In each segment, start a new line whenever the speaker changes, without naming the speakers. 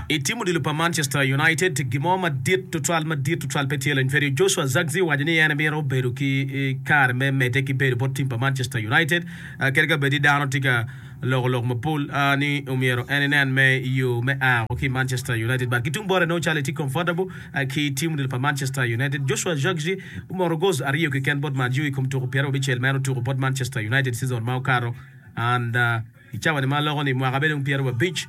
I tim odilo pa Manchester United, gin mo madit tutwal madit tutwal pe tye lony Ferio Joshua Zirkzee owaco ni en mito bedo ki kare me medde ki bedo bot tim pa Manchester United kadi ka bed ni dano tye ka loko lok mapol ni omyero en enen me yo me a woko ki i Manchester United but ki tung bote nongo calo etye comfortable ki tim odilo pa Manchester United. Joshua Zirkzee omoto goals aryo keken bot Man U i kom tuko pyerabicel ma en otuko bot Manchester United season ma okato and I cawa-ni ma aloko ni mwaka bene dong pyerabic,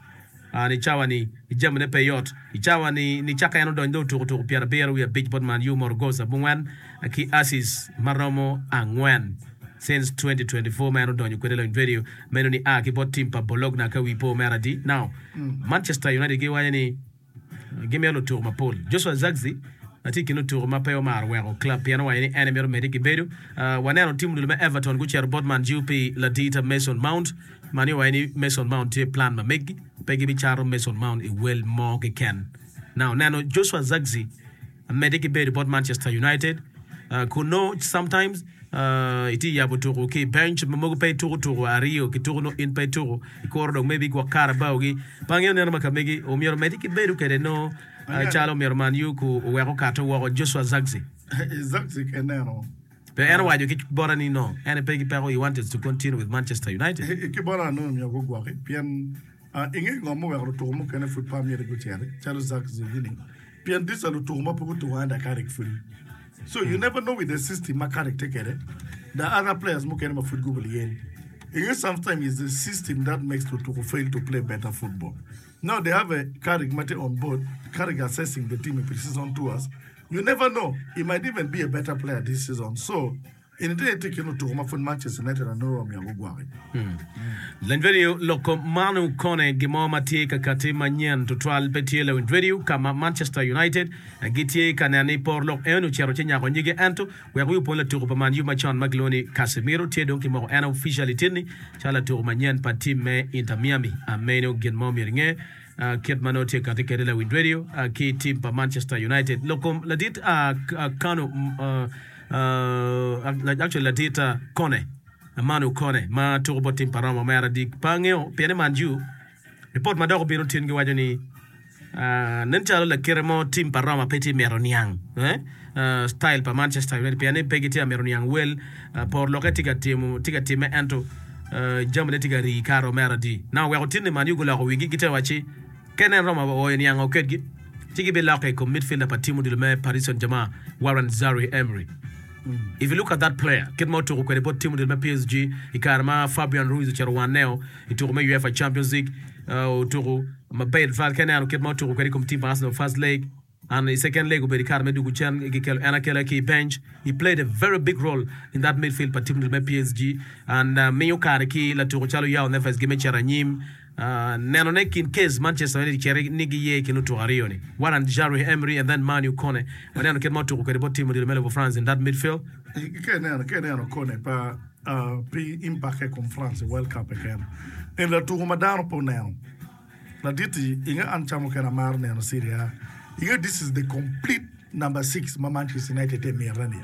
and i cawa-ni jamine pe yot. I cawa-ni nicakke en odony dong otuko tuko pyerabiro wiye abic bot Man U omoto goals abongwen ki assists ma romo angwen since 2024 ma en odonyo kwede lony radio meno ni a ki bot team pa Bologna ka wii po mere adi. Now Manchester United giwaco ni Gimito lutuku mapol. Joshua Zirkzee tye i kin lutuku ma pe omaro weko club pien owaco ni en emito medde ki bedo. Waneno tim odilo me Everton gucito bot Man U pi ladita Mason Mount. Man U owaco ni Mason Mount tye i plan ma meggi, pe gibicato Mason Mount i wel mo keken. Now neno Joshua Zirkzee Medde ki bedo bot Manchester United kun nongo sometimes itye yabo tuku ki i bench ma mogo pe ituku tuku aryo ki tuku nongo in pe ituku ikuro dong maybe gwok Carabao gi pe angeyo neno ma ka megi omyero omedde ki bedo kwede nongo calo omyero Man U ku owek okato woko Joshua Zirkzee.
Zirkzee ka ineno.
Pe en owaco ki bota ni no en pe ki peko he wanted to continue with Manchester United.
Ki bota anongo myero gugwoki pien Inge ngo muweko lutuku mukene pud pe myero guciti calo Zack Zugini pien these are lutuku ma pe gutuku under Carrick pudi so you never know with the system ma Carrick tye kwede the other players mukene ma pud gubo lyel inge sometimes is the system that makes lutuku fail to play better football now they have a Carrick ma tye on board Carrick assessing the team i pre-season tours you never know he might even be a better player this season so Eni tye tye i kin lutuku ma pud Manchester United onongo myero gugwoki.
Lawiny Radio loko manu kone gin mo ma tye ka kati manyen tutwal pe tye Lawiny Radio ka ma Manchester United gitye ka neno ni por lok eni ocito ci nyako nyige ento wek wi opwony latuku pa Man U macon ma kilwongo ni Casemiro tye dong kimoko en officially tinni calo latuku manyen pa team me Inter Miami ameno gin mo myero inge kit ma nongo tye kati kwede Lawiny Radio ki team pa Manchester United lok kom ladit Kanu Actually ladit Kone, Manu Kone ma tuko bot tim pa Roma omera adik pe angeyo pien ni Man U ripot ma dok obino tin giwaco ni nen calo lakite mo tim pa Roma pe tye mito niang style pa Manchester United pien ni pe gitye ka mito niang wel por lokke tye ka timo tye ka timme ento jamine tye ka rii kato omera adi na oweko tin ni Man U guloko wigi gitye ka wacci Ka inen Roma ooyo niango kedgi, ci gibilokke i kom midfielder pa tim odilo me Paris Saint-Germain, Warren Zaïre-Emery. If you look at that player, kit ma otuko kwede bot tim odilo me PSG i kare ma Fabian Ruiz ocito waneo i tuko me UEFA Champions League, otuko maber tutwal. Ka ineno kit ma otuko kwede i kom tim pa Arsenal first leg, And i second leg obedo i kare me dwogo cen gikelo en akela ki i bench. He played a very big role in that midfield pa team me PSG and uh, miyo kare ki latuko calo Joao Neves gi me cito anyim. Uh, neno ne kin case Manchester United cito ni giye i kin lutuko aryo ni Warren Zaïre Emery and then Manu Kone. Waneno kit ma otuko kwede bot team odilo me lobo France in that midfield.
Ka ineno, ka ineno Kone pa uh, pi impact i kom France i World Cup keken. En latuko ma dano pe oneno. Ladit-ti, inge an ca mukene amaro neno Serie A, inge this is the complete number six ma Manchester United tye mite ni.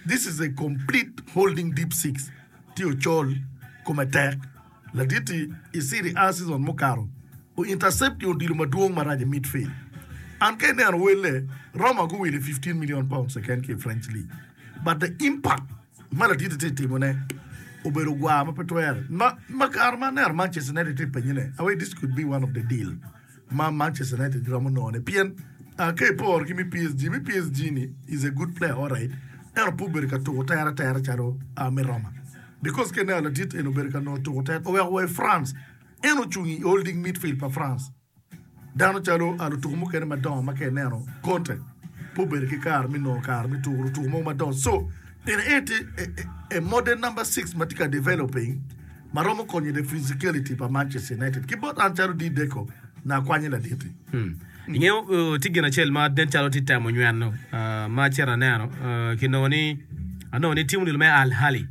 This is a complete holding deep six, tye ocol, kome tek. Ladit-ti i Serie A season mukato, o intercept i odilo madwong marac i midfield. An ka ineno welle, Roma guwilo i 15 million pounds keken ki i French league. But the impact ma ladit-ti tye ka timone obedo gwar ma pe twere. Ma kare ma aneno Manchester United tye ka penyone, I this could be one of the deal ma Manchester United giromo nongone pien ka iporo ki me PSG, me PSG ni is a good player alright ento pe obedo ka tuko tere atera calo me Roma because ka ineno ladit eni obedo ka nongo tuko tere oweko wa i France en ocung i holding midfield pa France. Dano calo lutuku mukene madongo ma ka ineno Conte pe obedo ki kare me nongo kare me tuko lutuku mogo madongo so en aye tye a modern number six ma tye ka developing ma romo konyo the physicality pa Manchester United ki bot an calo D-Deco nakwanye laditi.
Ingeyo tye gin acel ma nen calo tye temo nyweno ma acito aneno kinongo ni anongo ni tim odilo me Al Ahly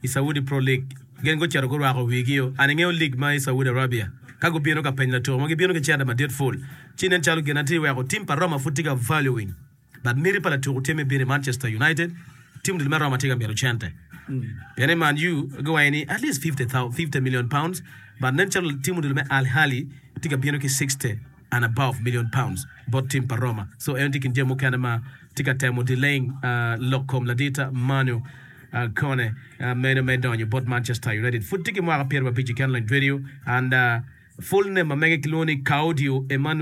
i Saudi Pro League Gin gucito gurwako wigio. An ingeyo lig ma i Saudi Arabia. Ka gubino ka penyo latuko mo, gibino ki cente madit ful. Ci nen calo gin atye weko tim pa Roma pud tye ka valuing. But miti pa latuko tye me bino i Manchester United. Tim odilo me Roma tye ka mito cente. Pien i Man U giwaco ni at least 50 million pounds. But nen calo tim odilo me Al Ahly tye ka bino ki 60. and above million pounds bot tim pa Roma. So en tye i kin jami mukene ma tye ka temo delaying lok kom ladit Manu Kone meno me donyo bot Manchester United. Pud tye ki mwaka pyerabic keken lony radio and full name ma mege kilwongo ni Kaudio Emmanuel.